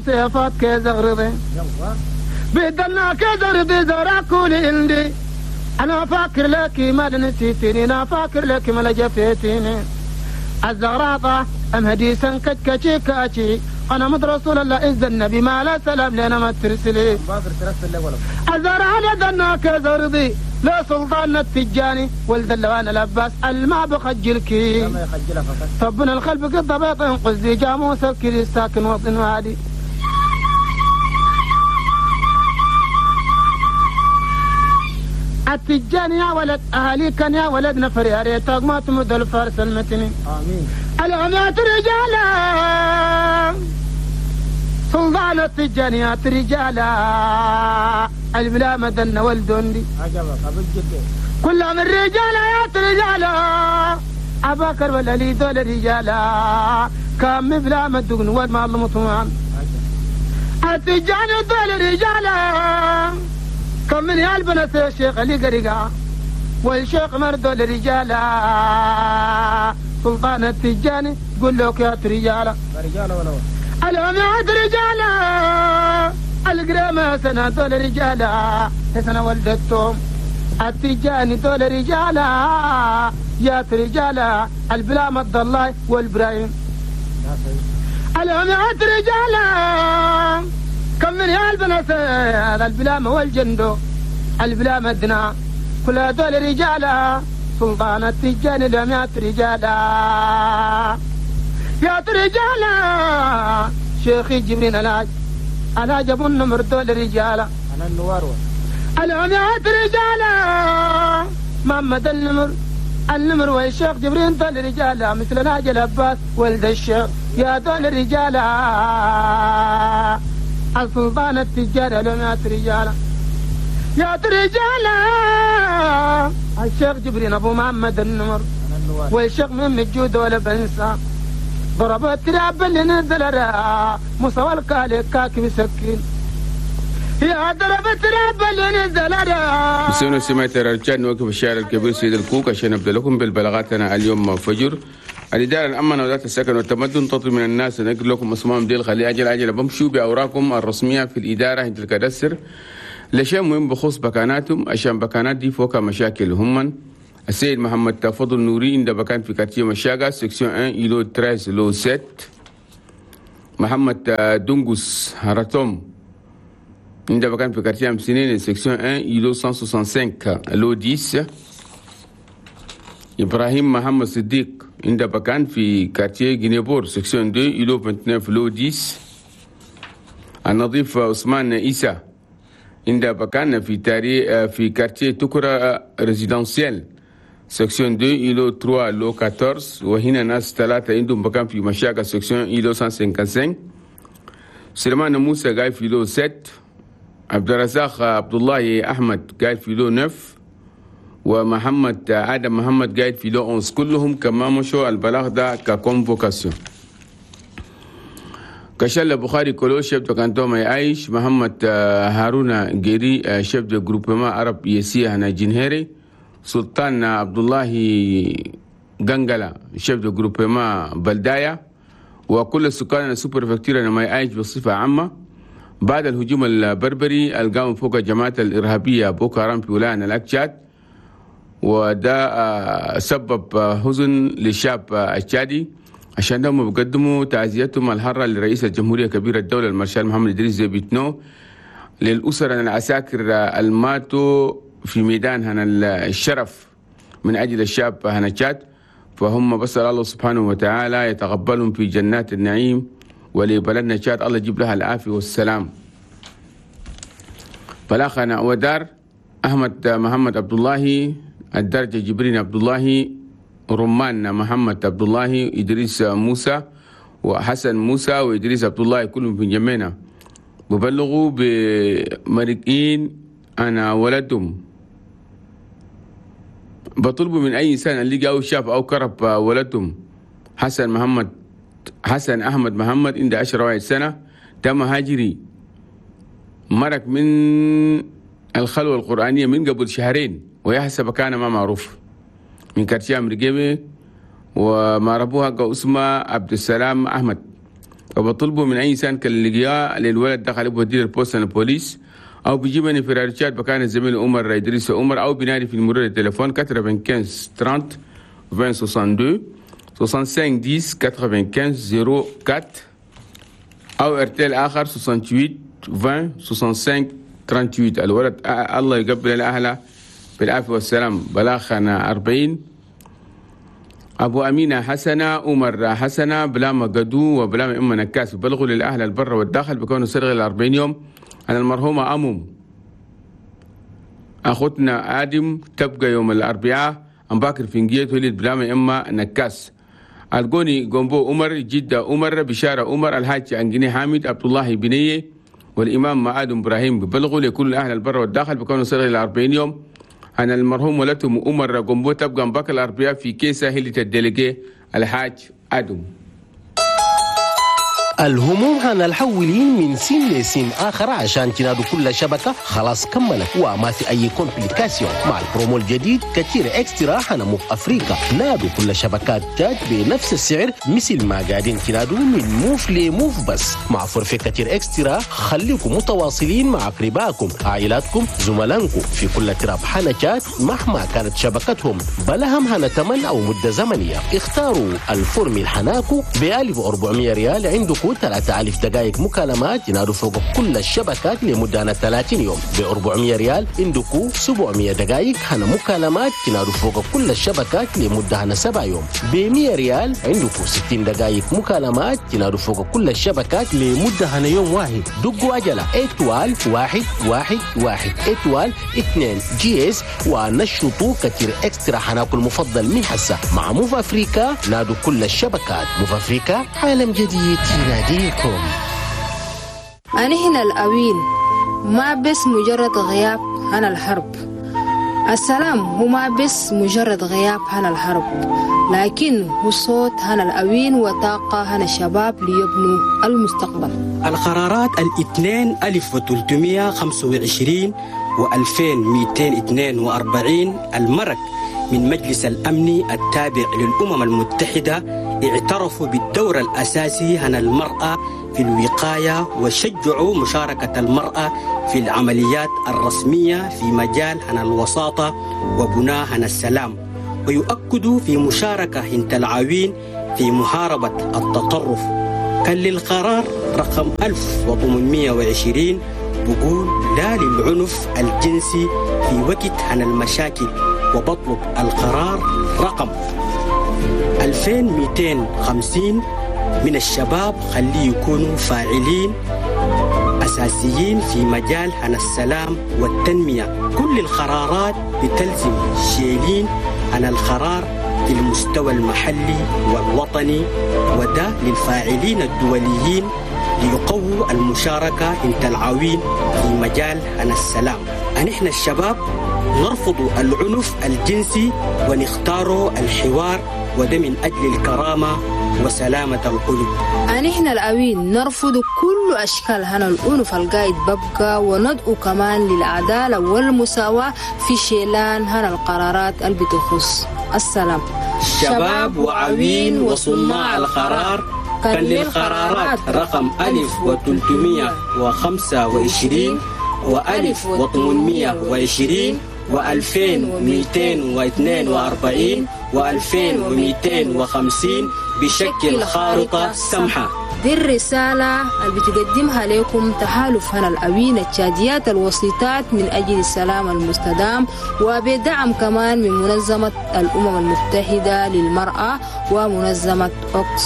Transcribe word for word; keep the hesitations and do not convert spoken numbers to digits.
صيفات كزغرضي بدلنا كزغرضي زراكولي عندي انا فاكر لك ما نسيتني انا فاكر لك ما جفيتني الزغراطة ام هديسا كتكتي كاتي انا مد رسول الله إذ النبي ما لا سلام لنا ما ترسلي الزرع لدنا كزرضي لا سلطان التجاني ولد اللوان العباس الما بخجلك طبنا الخلف قد بيط قزي جاموس الكري ساكن وطن وادي التجاني يا ولد اهالي كان يا ولد نفر يا ريتك ما تمد الفارس المتني امين العمات رجالا سلطان التجانيات رجالا البلا مدن والدندي عجبك ابو الجد كلهم الرجال يا رجالا ابا بكر ولا لي دول رجالا كم بلا مدن وما المطوان التجاني دول رجالا كم من يا البنات الشيخ اللي قرقا والشيخ مردول رجالا سلطان التجاني قول لك يا رجالا رجالا ولا العماد رجالا القرامة سنة دول رجالا سنة ولدتهم التجاني دول رجالا يا رجالا البلا مد الله والبرايم العماد رجالا كم من يا البنات هذا البلامة والجندو البلامة دنا كل دول رجالا سلطان التجاني العماد رجالا يا رجالا شيخي جبرين العاج انا جاب النمر دول رجالا انا النوار العميات رجالا محمد النمر النمر والشيخ جبرين دول رجالا مثل ناجي العباس ولد الشيخ يا دول رجالا السلطان التجار العميات رجالا يا رجالا الشيخ جبرين ابو محمد النمر والشيخ من الجود ولا بنسى ضربت تراب اللي نزل مصور الكالي كاكي مسكين يا ضربت تراب اللي نزل بسم سمعت الرجال نوقف الشارع الكبير سيد الكوك عشان نبدا لكم بالبلاغاتنا اليوم فجر. الإدارة الأمن وزارة السكن والتمدن تطلب من الناس أن نقل لكم اسمائهم ديل خلي أجل أجل بمشوا بأوراقهم الرسمية في الإدارة عند الكادستر لشيء مهم بخصوص بكاناتهم عشان بكانات دي فوق مشاكل هم. السيد محمد فضل نوري عند بكان في quartier مشاقة section واحد îlot ثلاثة lot سبعة. محمد دونغوس هراتوم عند بكان في quartier أمسنين section واحد îlot مية وخمسة وستين lot عشرة. إبراهيم محمد صديق عند بكان في quartier جينيبور section اثنين îlot تسعة وعشرين lot عشرة. النظيف عثمان عيسى عند بكان في تاري في quartier تكرا résidentiel section اثنين îlot ثلاثة lot أربعة عشر. وهنا ناس ثلاثة عندهم بكان في مشاكل section îlot مية وخمسة وخمسين. سليمان موسى قاعد في lot سبعة. عبد الرزاق عبد الله أحمد قاعد في lot تسعة. ومحمد آدم محمد قاعد في lot أحد عشر. كلهم كما مشوا البلاغ ده ك convocation. كشل بخاري كلو chef de canton ماي عايش. محمد هارون جيري chef de groupement عرب يسيا هنا جنهري. سلطان عبد الله غنغلا chef de groupement بلدايا. وكل السكان ال sous-préfecture ماي عايش بصفة عامة بعد الهجوم البربري القام فوق الجماعة الإرهابية بوكو حرام في ولاية لاك تشاد، وده سبب حزن للشعب التشادي. عشان ده هم بيقدموا تعزيتهم الحارة لرئيس الجمهورية كبير الدولة المارشال محمد إدريس ديبي إتنو للأسر العساكر الماتوا في ميدان هنا الشرف من أجل الشعب هنا تشاد. فهم بسأل الله سبحانه وتعالى يتقبلهم في جنات النعيم، ولبلدنا تشاد الله يجيب لها العافية والسلام. فلاخنا ودار أحمد محمد عبد الله الدرجة جبرين عبد الله رمان محمد عبد الله إدريس موسى وحسن موسى وإدريس عبد الله كلهم في جمينا ببلغوا بمرقين أنا ولدهم. بطلبوا من أي إنسان اللي جاء شاف أو كرب ولدهم حسن محمد حسن أحمد محمد عند عشرة واحد سنة تم هاجري مرق من الخلوة القرآنية من قبل شهرين ويحسب كان ما معروف من كارتيا مرقبة وما ربوها اسمه عبد السلام أحمد. وبطلبوا من أي إنسان كان لقياه للولد دخل بودي ال poste البوليس أو بيجيبني في راديو تشاد بكان الزميل عمر إدريس عمر، أو بنادي في المرور التليفون quatre-vingt-quinze trente vingt soixante-deux soixante-cinq dix quatre-vingt-quinze zéro quatre، أو ارتيل آخر soixante-huit vingt soixante-cinq trente-huit. الولد الله يقبل الأهل بالعافية والسلام. بلاغنا أربعين أبو أمينة حسنة عمر حسنة بلاما قدو وبلاما أم نكاس بلغوا للأهل البر والداخل بكونوا سرغ الأربعين يوم عن المرحومة أمم أخوتنا آدم تبقى يوم الأربعاء أم باكر فينجيت ولد بلاما أما نكاس. القوني قنبو عمر جدة عمر بشارة عمر الحاج أنجني حامد عبد الله بنية والإمام معاد إبراهيم ببلغوا لكل أهل البر والداخل بكونوا سرغ الأربعين يوم عن المرحوم ولدهم عمر قنبو تبقى مباكر الأربعاء في كيسة هلة ال délégué الحاج آدم. الهموم هنا الحولين من سين لسين آخر عشان تنادوا كل شبكة خلاص كملت وما في أي complication. مع البرومو الجديد كتير extra هنا موف أفريقيا، نادوا كل شبكات تاج بنفس السعر مثل ما قاعدين تنادوا من موف لموف، بس مع forfait كتير extra خليكم متواصلين مع أقربائكم عائلاتكم زملائكم في كل تراب حنا تشاد مهما كانت شبكتهم، بلهم هنا تمن أو مدة زمنية. اختاروا ال formule حناكو ب ألف وأربعمية ريال عندكم ثلاثة آلاف دقائق مكالمات ينادوا فوق كل الشبكات لمدة ثلاثين يوم. ب أربعمية ريال عندكم سبعمية دقائق هنا مكالمات ينادوا فوق كل الشبكات لمدة هنا سبع يوم. ب مية ريال عندكم ستين دقائق مكالمات ينادوا فوق كل الشبكات لمدة هنا يوم واحد. دقوا عجلة étoile واحد واحد واحد étoile اثنين dièse ونشطوا كتير extra حناكل المفضل من حسة مع موف أفريكا. نادوا كل الشبكات. موف أفريكا عالم جديد يناديكم. أنا هنا الأوين ما بس مجرد غياب عن الحرب. السلام هو ما بس مجرد غياب عن الحرب، لكن هو صوت عن الأوين وطاقة عن الشباب ليبنوا المستقبل. القرارات الاثنين ألف وثلاثمية خمسة وعشرين وألفين مئتين اثنين وأربعين المرك من مجلس الأمن التابع للأمم المتحدة اعترفوا بالدور الأساسي عن المرأة في الوقاية وشجعوا مشاركة المرأة في العمليات الرسمية في مجال عن الوساطة وبناء عن السلام، ويؤكدوا في مشاركة هنت العاوين في محاربة التطرف. كان للقرار رقم ألف وثمانمية وعشرين بقول لا للعنف الجنسي في وقت عن المشاكل، وبطلب القرار رقم ألفين ومئتين وخمسين من الشباب خليه يكونوا فاعلين أساسيين في مجال عن السلام والتنمية. كل القرارات بتلزم شيلين عن القرار في المستوى المحلي والوطني، وده للفاعلين الدوليين ليقووا المشاركة انت العوين في مجال عن السلام. نحن الشباب نرفض العنف الجنسي ونختار الحوار، وده من أجل الكرامة وسلامة القلوب. نحن الأوين نرفض كل أشكال هنا العنف القايد ببقى، وندعو كمان للعدالة والمساواة في شيلان هنا القرارات اللي بتخص السلام. شباب وعوين وصناع القرار، كان للقرارات رقم ألف وثلاثمية وخمسة وعشرين وألف وثمانمية وعشرين وألفين ومئتين واثنين وأربعين وألفين ومئتين وخمسين بشكل خارطة سمحة. دي الرسالة اللي بتقدمها لكم تحالف هنا الأوين التشاديات الوسيطات من أجل السلام المستدام، وبدعم كمان من منظمة الأمم المتحدة للمرأة ومنظمة أوكس.